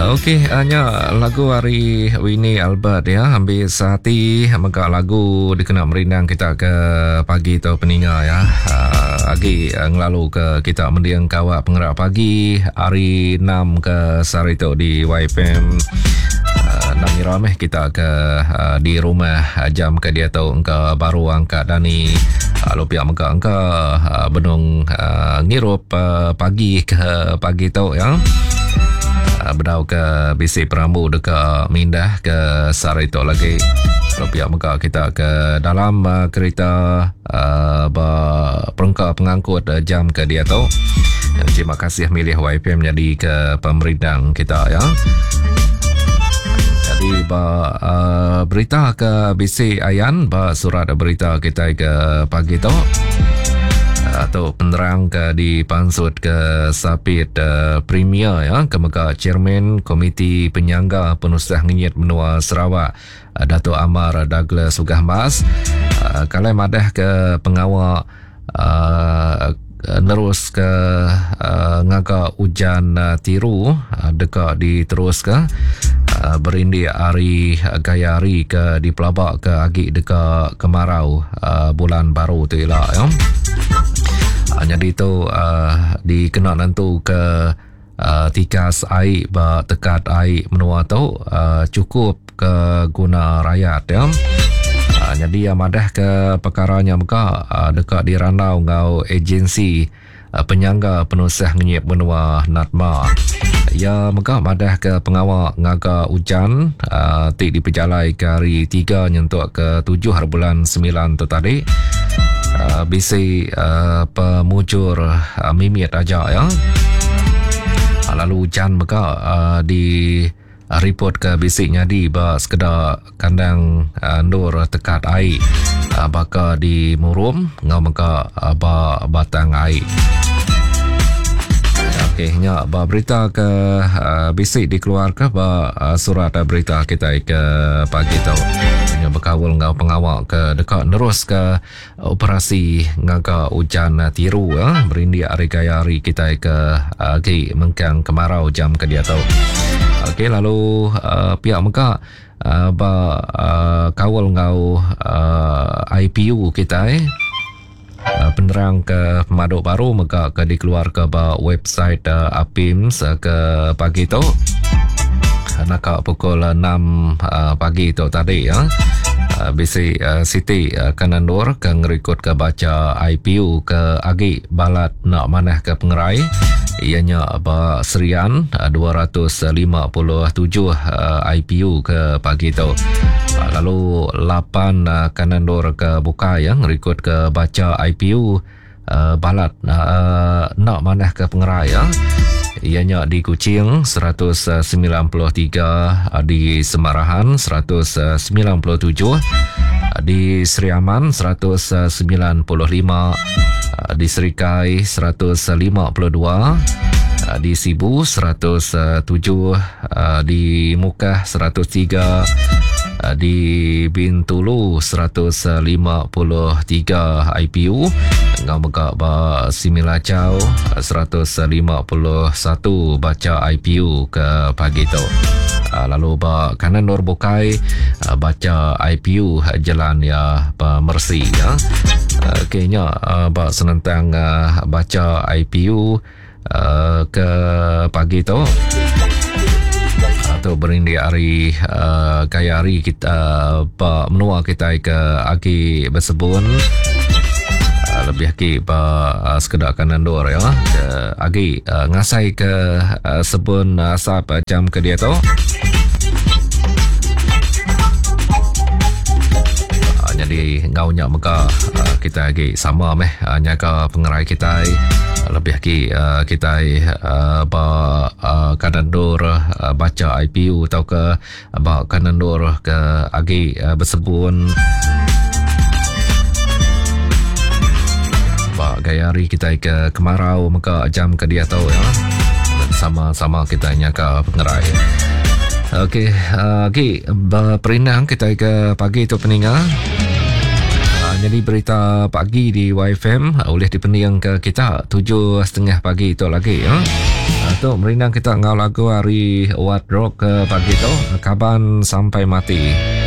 Okey, nya lagu ari Winnie Albert ya, ambil sehati mega lagu dikena merindang kita ke pagi tu peninga ya. Agi ngelalu ke kita mending kawak pengerak pagi hari 6 ke sehari tu di YFM. Nang ngira meh kita ke di rumah jam ke diatu engka baru angkat dani lalu pia mega engka benung ngirup pagi ke pagi tu ya. Bedau ke bisi perambu deka mindah ke sehari tu lagi. Lalu pia mega kita ke dalam kereta ba perengka pengangkut jam ke diatu. Terima kasih milih YFM jadi ke pemerindang kita ya. Jadi ba uh, berita ke bisi ayan ba surat berita kita ke pagi tu. Atau penerang ke dipansut ke sapit uh, Premier ya ke mega Chairman Komiti Penyangga Penusah Ngenyit Menua Sarawak uh, Datuk Amar Douglas Uggah Mas uh, kalai madah ke pengawa uh, nerus ke uh, ngaga ujan uh, tiru uh, deka diterus ke uh, berindik hari uh, gaya hari ke dipelaba ke agi deka kemarau uh, bulan baru tu ila ya. Uh, jadi tu uh, dikena nentu ke uh, tikas air ba tekat air menua tu uh, cukup ke guna rakyat ya. Uh, jadi yang madah ke perkaranya mega uh, deka dirandau ngau agensi uh, penyangga penusah ngenyit menua NADMA. Ya mega madah ke pengawa ngaga ujan uh, ti dipejalai ke hari 3 nyentuk ke 7 hari bulan 9 tu tadi. Uh, bisi uh, pemujur uh, mimit aja ya. Uh, lalu ujan mega uh, di report ke bisi nyadi ba sekeda kandang uh, endur tekat ai uh, baka di Murum ngau mega uh, ba Batang Ai. Okey, nya ba berita ke uh, bisi dikeluarka ba uh, surat berita kita ke pagi tu. Nya bekaul enggau pengawa ke deka neruska operasi ngaga ujan tiru uh, berindik ari gaya hari kita ke agi mengkang kemarau jam ke diatu. Okey, lalu uh, pihak mega uh, ba uh, kaul enggau uh, IPU kita eh. Penerang ke pemadu baru mega ke dikeluarka ba website APIMS ke pagi tu. Naka pukul 6 pagi tu tadi ya. Bisi siti ke nendur ke ngerikod ke baca IPU ke agi balat nak manah ke pengerai iya nya ba Serian 257 IPU ke pagi tu. Lalu 8 ke nendur ke bukai ya ngerikod ke baca IPU balat enda manah ke pengerai ya. Iya nya di Kuching 193, di Semarahan 197, di Sri Aman 195, di Serikai 152, di Sibu 107, di Mukah 103, di Bintulu 153 IPU enggau mega ba Similajau 151 baca IPU ke pagi tu. Lalu ba kanan nur bukai baca IPU jelan ya pemersi ya. Okey nya ba senentang baca IPU ke pagi tu atau berindik hari uh, gaya hari kita ba menua kita ke agi bersebun uh, lebih agi ba uh, sekeda kanan dur ya ke agi uh, ngasai ke uh, sebun asap uh, jam ke dia tu uh, jadi ngau nya mega uh, kita agi sama meh uh, nyaga pengerai kita lebih agi uh, kita uh, ba uh, kanan dur uh, baca IPU atau ke ba kanan dur ke agi uh, bersebun ba gaya hari kita ke kemarau mega jam ke dia tu ya sama-sama kita nyaga pengerai. Okey, uh, okey, berperindang kita ke pagi tu peninga. Jadi berita pagi di YFM uh, boleh dipending ke kita 7.30 pagi tu lagi ya. Tu merindang kita enggau lagu ari Wat Rock ke pagi tu, Kaban Sampai Mati.